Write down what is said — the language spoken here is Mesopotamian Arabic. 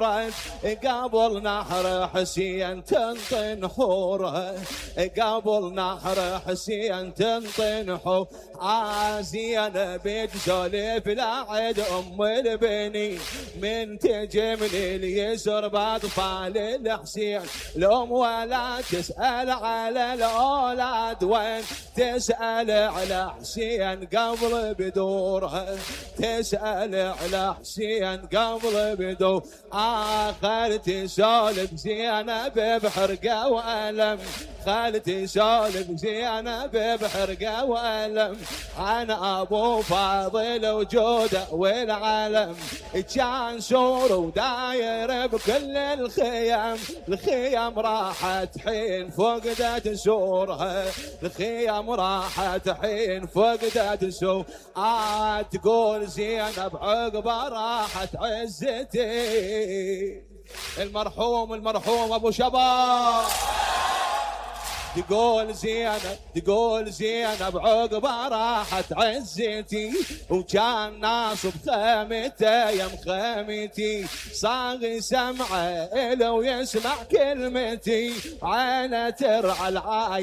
قبل نحر حسين تنطي نحوره قبل نحر حسين تنطي نحور زينب تسولف لعد ام البني من تجي من اليسر باطفال الحسين الام ولا تسأل على الاولاد وين تسأل على حسين قبل بدورها تسأل على حسين قبل بدور خالتي سولف زينب بحرقه والم خالتي سولف زينب بحرقه والم عن ابو فاضل وجوده والعالم كان سور وداير بكل الخيم راحت حين فقدت سورها الخيم راحت حين فقدت سور تقول زينب عقبه راحت عزتي المرحوم ابو شباب تقول زينب عقبه راحت عزتي وكان ناصب خيمته يم خيمتي صاغي سمعه لو يسمع كلمتي عينه ترعى العاية